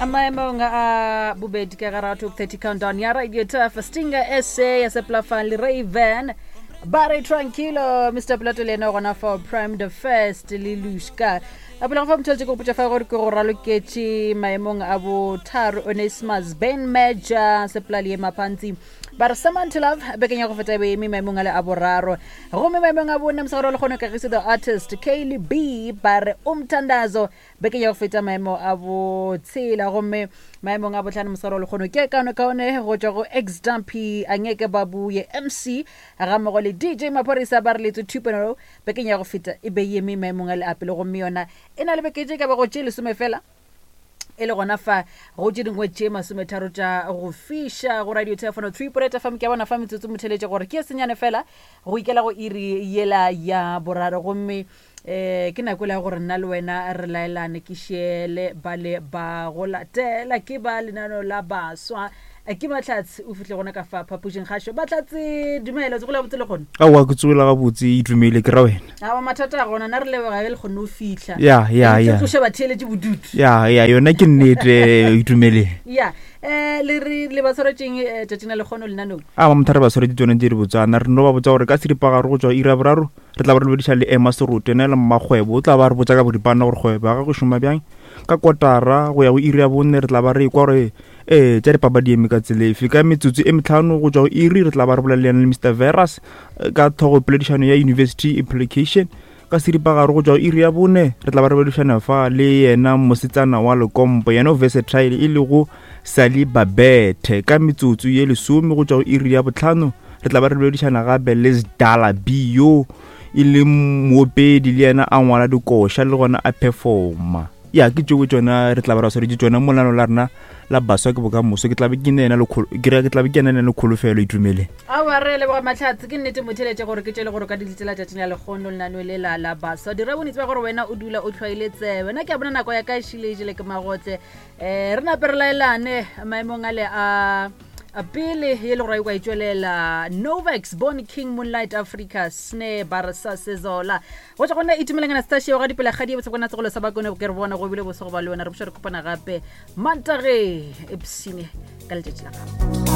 Maemong a bobedi ka gara top 30 countdown ya Radio Turf, Stinger SA ya Seplafan le Raven ba re tranquilo. Mr Plato le ena gona for Prime the First le Lushka a pele go fa motho ke go potša fa gore ke go raloketše maemong a botharo Onesimus Ben Major Sepla le Mapantsi ba re Someone to Love bekeng ya go feta e be eme maemong a le a boraro. Gomme maemong a bone mosegare wa lekgono Kagiso the Artist Kaylee B ba re Umthandazo bekeng ya go feta maemo a botshela. Gomme maemong a botlhano mosegare wa lekgono ke kaone kaone go tšwa go Ex Dumpy Angeke Babuye MC ga mmogo le DJ Maphorisa ba re Letswe 2.0 bekeng ya go feta e be eme maemong a le a pele. Gomme yona e na le beke tše ka bago tše lesome fela e le gona fa go tše dingwe tše masometharo tša go fiša go radio telefono 3 poreta fam. Ke a bona fa metsotso motheletše gore ke e senyane fela go ikela go iri yela ya boraro. Gomme um ke nako e la gore nna le wena re laelane ke šiele ba le ba go latela ke ba lenaneo la baswa. Ke Mahlatse o fihle gona ka fa phapošing kgašo. Mahlatse, dumela, tsogola botse le kgone? Aowa, ke tsogola gabotse, itumele ke ra wena. Aowa, mathata a gona, na re leboga ge le kgonne go fihla. Ya, ya, ya. Tloša batheeletše bodutu. Ya, ya, yona ke nnete, itumele. Ya, eh le re le ba tshwaretšeng eh, tšatšing la lekgono lenanong? A ba motho re ba tshwaretše tsone tse di botsana, re no ba botsa gore ka seripagare go tšwa ira boraro re tla ba re lebediša le Emma Serote, ena e le mmakgwebo, o tla ba re botsa ka boripana gore kgwebo ya gagwe e šoma bjang. Ka kotara go ya go iri ya bone re tla ba re ekwa gore Ee, tša dipapadi eme ka tsela efe. Ka metsotso e metlhano go tšwa go iri re tla ba re bolela le yena le Mr Veras eh, ka tlhogo poledišano ya University Implication. Ka seripagare go tšwa go iri ya bone re tla ba re boledišana fa le yena mosetsana wa Lekompo, yena o versatile e lego Sally Babethe. Ka metsotso ye lesome go tšwa go iri ya botlhano re tla ba re boledišana gape le Sdala B yo e leng moopedi le yena a ngwala dikoša le gona a performa. Ya ke tšeo tšona re tla ba ra swaretše tšona molano la rena la baswa ke bokamoso. Ke tlabe ke ne ena le ke re ke tlabe ke ena le kholofelo itumele. Aowa, re leboga Mahlatse. Ke nnete motheletše gore ke tšele gore o ka di letela tšatšing la lekgono lenaneo le la la baswa. Dira bonnete ba gore wena o dula o hlwaile tsebe. Nna ke a bona nako ya ka e šile e jele ke magotle. Um re nape re laelane maemong ale a a pele ye le gore a ikwa e tšwelela Novex Born King Moonlight Africa Snare Barsa Sezola go tšwa go nna Itumeleng Anastasia wa ga Dipelakgadi ye botshekwana segolo sa Bakone ke re bona go bile boso go ba le wena. Re buša re kopana gape Mantageng epsene ka letšatši la gago.